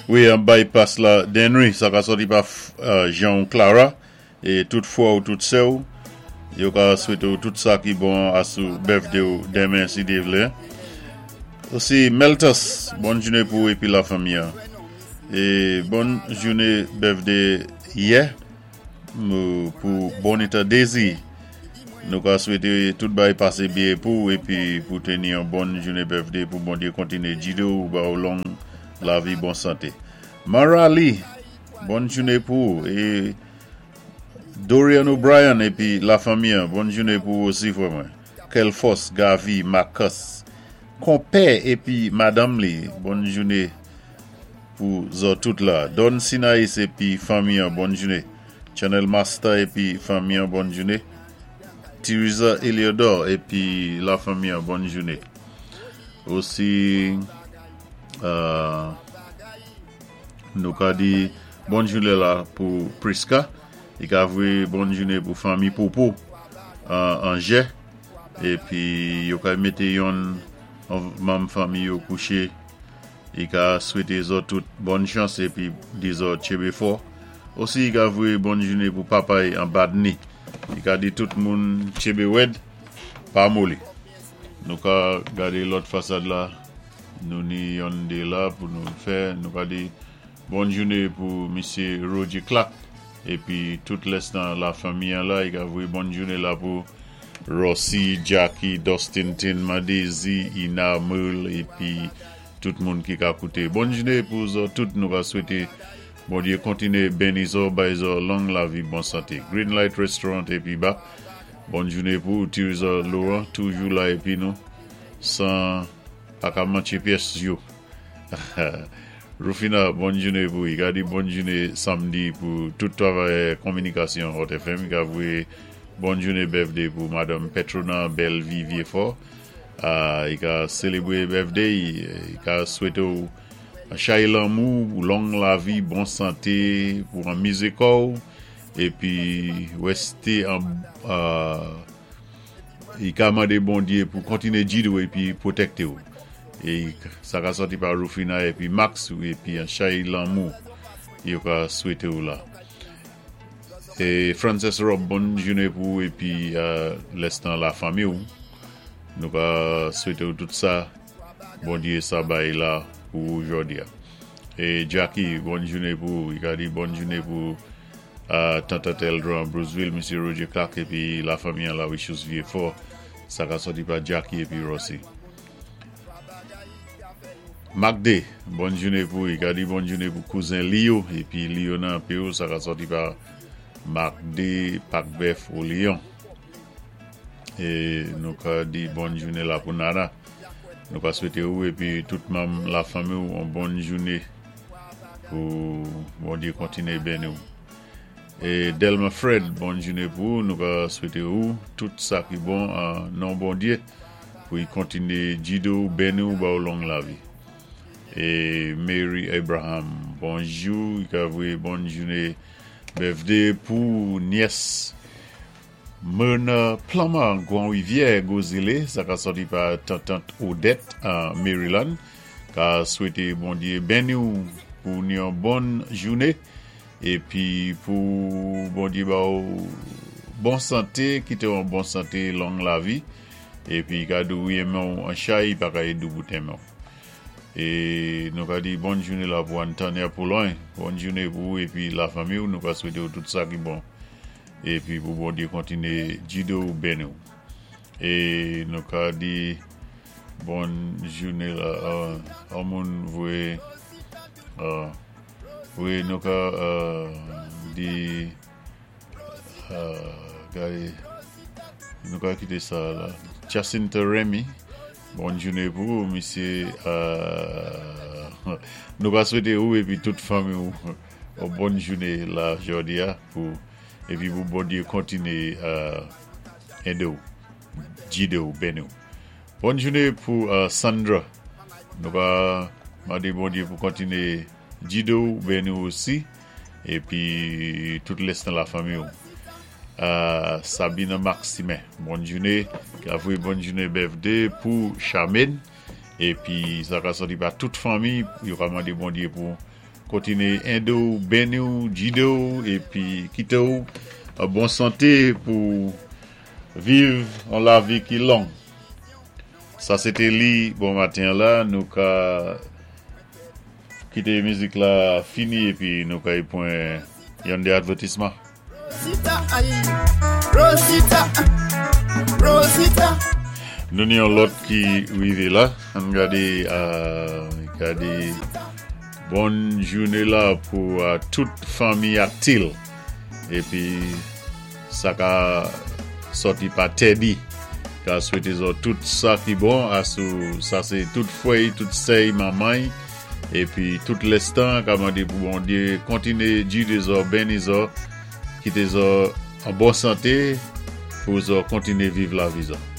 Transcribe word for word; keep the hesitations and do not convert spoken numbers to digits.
Wi, an bypass la Denry, sa ka sòti pa Jean Clara, é tout fwè ou tout sè ou, yo ka swété ou tout sa ki bon asou birthday ou denmen si Dye vlé. Osi Meltus, bòn jouné pou ou épi la fanmi. É bòn jouné birthday yè pou Bonita Daisy. Nou ka swété tout bagay pasé byen pou ou épi pou teni yon bòn jouné birthday pou Bondyé kontiné gidé ou ba ou long lavi bon santé. Marali, bòn jouné pou ou é Dorian O'Brien épi la fanmi, bòn jouné pou ou osi frè mwen. Kelfos, Gavi, Marcus, konpè épi madanm li, bòn jouné pou zòt tout la. Don Sinaïs épi fanmi, bòn jouné. Channel Master épi fanmi, bòn jouné. Teresa Eliodor épi la fanmi, bòn jouné. Osi, euh, nou ka di bòn jouné la pou Priska. I ka voyé bòn jouné pou fanmi Popo an Jè. Épi yo ka mété yon manm fanmi yo kouché. I ka swété zòt tout bòn chans épi di zòt tchenbé fò. Osi i ka voyé bòn jouné pou papay an Badni. I ka di tout moun tchenbé wèd pa moli. Nou ka gadé lòt fasad la. Nou ni yon dé la pou nou fè. Nou ka di bòn jouné pou Misye Roger Clark. Épi tout lès nan la fanmi an la. I ka voyé bòn jouné la pou Rossi, Jackie, Dustin, Tin, Madezi, Ina, Merle épi tout moun ki ka kouté. Bòn jouné pou zòt tout nou ka swété Bondyé kontiné béni zòt, bay zòt long lavi, bon santé. Green Light Restaurant épi ba. Bòn jouné pou Teresa Laurent, toujou la épi nou san pa ka manché pyès yo. Rufina, bòn jouné pou i ka di bòn jouné samdi pou tout travayè kominikasyon Hot F M. I ka voyé bòn jouné birthday pou Madame Petrona Bellevie Viefort. Uh, i ka sélébwé birthday, i ka swété ou chay lanmou, long lavi, bon santé pou anmizé kò épi wèsté an uh, i ka mandé Bondyé pou kontiné gidé ou épi pwotèkté ou. É sa ka sòti pa Rufina épi Max épi an chay lanmou yo ka swété ou la. É Frances Rob, bòn jouné pou ou épi uh, lès nan la fanmi ou. Nou ka swété ou tout sa Bondyé sa bay la pou jòdi a. É Jackie, bòn jouné pou ou. I ka di bòn jouné pou uh, Tante Teldra Bruceville, Misye Roger Clark épi la fanmi an la Wichus Vieux-Fort. Sa ka sòti pa Jackie épi Rossi. Magde, bòn jouné pou ou. I ka di bòn jouné pou kouzen Leo épi Leo nan P O, sa ka sòti pa Magde Pakbef au Lyon. É nou ka di bòn jouné la pou Nana. Nou ka swété ou épi tout manm la fanmi ou yon bòn jouné pou Bondyé kontiné béni ou. É Delma Fred, bòn jouné pou ou. Nou ka swété ou tout sa ki bon an non Bondyé pou i kontiné gidé ou, béni ou, ba ou long lavi. É Mary Abraham, bonjou, i ka voyé bòn jouné birthday pou nyès Myrna Plummer, Grand Rivière, Gozile, sa ka sòti pa Tantant Odette an Maryland. Ka swété Bondyé béni ou pou yon bòn jouné épi pou Bondyé ba ou bon santé, kité ou an bon santé, long lavi épi ka di ou renmen ou an chay, pa ka di ou renmen ou. É nou ka di bòn jouné la pou Antonia Pouloin, bòn jouné pou ou épi la fanmi ou, nou ka swété ou tout sa ki bon. Épi pou Bondyé kontiné gidé ou béni ou. É nou ka di bòn jouné la, uh, moun voyé, uh, wi, nou ka uh, di, uh, gadé, nou ka kité sa la. Jacinta Remy, bòn jouné pou ou, misyé, uh, nou ka swété ou épi tout fanmi ou, ou bòn jouné la jòdi a, pou épi pou Bondyé kontiné uh, édé ou, gidé ou, béni ou. Bòn jouné pou uh, Sandra. Nou ka mandé Bondyé pou kontiné gidé ou, béni ou osi, épi tout lès nan la fanmi ou. Uh, Sabina Maximin, bòn jouné, ka voyé bòn jouné birthday pou Charmaine, Épi sa ka sòti pa tout fanmi, yo ka mandé Bondyé pou kontiné édé ou, béni ou, gidé ou, épi kité ou an bon santé pou viv an lavi ki long. Sa sé li bon maten la, nou ka kité mizik la fini épi nou ka y pwan yon dé advètisman. Rosita, ay, Rosita, Rosita. Nou ni yon lòt ki rivé la. Ann gadé, euh, gadé bon jouné la pou euh, tout fanmi Aktil. Épi sa ka sòti pa Teddy. Ka swété zòt tout sa ki bon asou sa sé tout fwè, tout sè, manman épi tout lèstan ka mandé pou Bondyé kontiné gidé zòt, béni zòt, kité zòt an bon santé pou zòt kontiné viv lavi zòt.